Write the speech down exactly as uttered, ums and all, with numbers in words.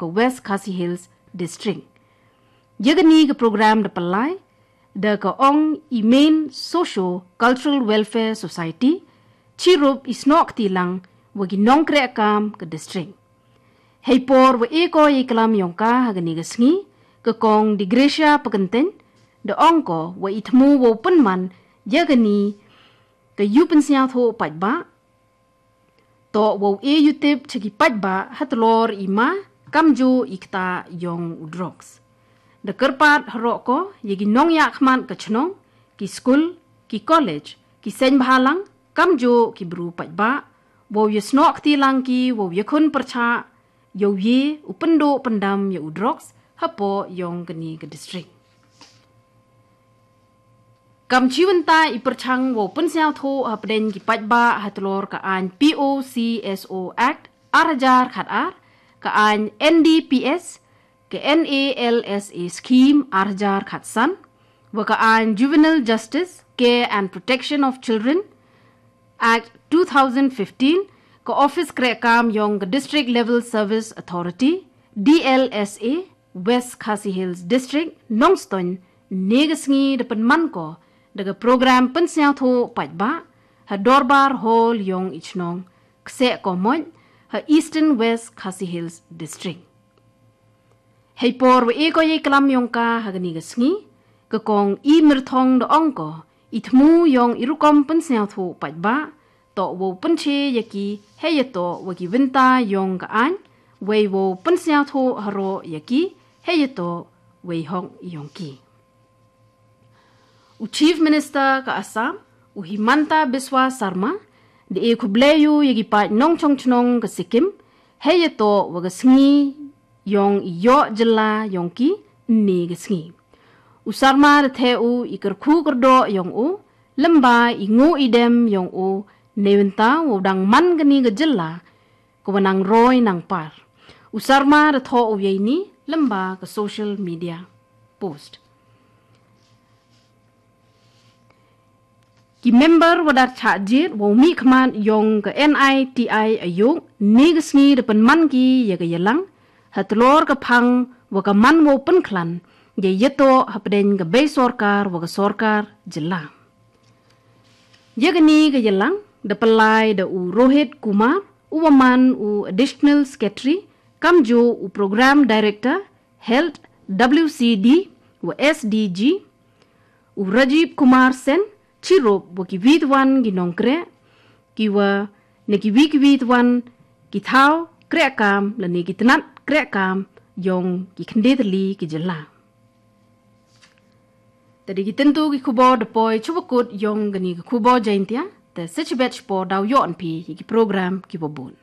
ka West Khasi Hills District. Iagani ka program da palai da ka ong i Main Socio Cultural Welfare Society, chirup i snok tilang wa ki nongkrek kam ka district. Hei por wa e ko i kalam yong ka hagani ka sngi, ka kong Digresia Pakenten da ong ko wa i thmu wa u pynman iagani ka yu pynsniaw tho paitba. To wa u e yu tip chaki paitba ha tlor i ma kamju i kta yong u drugs. Da kyrpat harok ko iagi nongya khmat ka chnong, ki skul, ki college, ki seng bhalang, kamju ki bru paitba, wa u ya snok tilang ki, wa u ya khun pyrcha, ya u ye u pyndo pyndam ya u drugs hapo yong kani ka district. Kam chiwynta i pyrchang wa u pynsniaw tho hapdeng ki paitba ha tlor ka ain P O C S O Act ar hajar khat ar, ka ain N D P S, ka N A L S A scheme ar hajar khat san, wa ka ain Juvenile Justice, Care and Protection of Children Act two thousand fifteen, ka office krek kam yong ka District Level Service Authority, D L S A, West Khasi Hills District, Nongstoiñ, ne ka sngi da pynman ko da ka program pynsniaw tho paitba ha Dorbar Hall yong i chnong Kseh Komoit ha Eastern West Khasi Hills District. Hei por wa e ko i kalam yong ka hagani ka sngi, ka kong i myrthong da ong ko i thmu yong i rukom pynsniaw tho paitba, to wa u pynche ya ki hei ya to wa ki wynta yong ka ain, wei wa u pynsniaw tho haro ya ki hei ya to wei hok yong ki. U Chief Minister ka Assam, u Himanta Biswa Sarma, da e khublei yu ya ki pait nongchong chnong ka Sikkim, hei ya to wa ka sngi yong i yoh jylla yong ki ne ka sngi. U Sarma da the u i kyrkhu kyrdoh yong u, lymba i ngu i dem yong u, ne wynta wa u dang man kani ka jylla, ka wa nang roi nang par. U Sarma da tho u ya ini lymba ka social media post. Ki member wa da chah jit wa u mih khmat yong ka N I T I Aayog ne ka sngi da pynman ki ya ka yalang, ha tlor ka phang wa ka man wa u pynkhlan ya ya to hapdeng ka bei sorkar wa ka sorkar jylla. Iagani ka yalang da palai da u Rohit Kumar, u wa man u Additional Secretary, kamju u Program Director, Health, W C D wa S D G, u Rajiv Kumar Sen, chirup wa ki wit wan ki nongkrek, ki wa ne ki wi ki wit wan ki thaw krek kam la ne ki tnat krek kam yong ki khynde tylli ki jylla. Tadi ki tentu ki khubor da poi chuba kut yong kani ki khubor Jaintia, te sechibet chipor daw yoh anpi ki program ki bobun.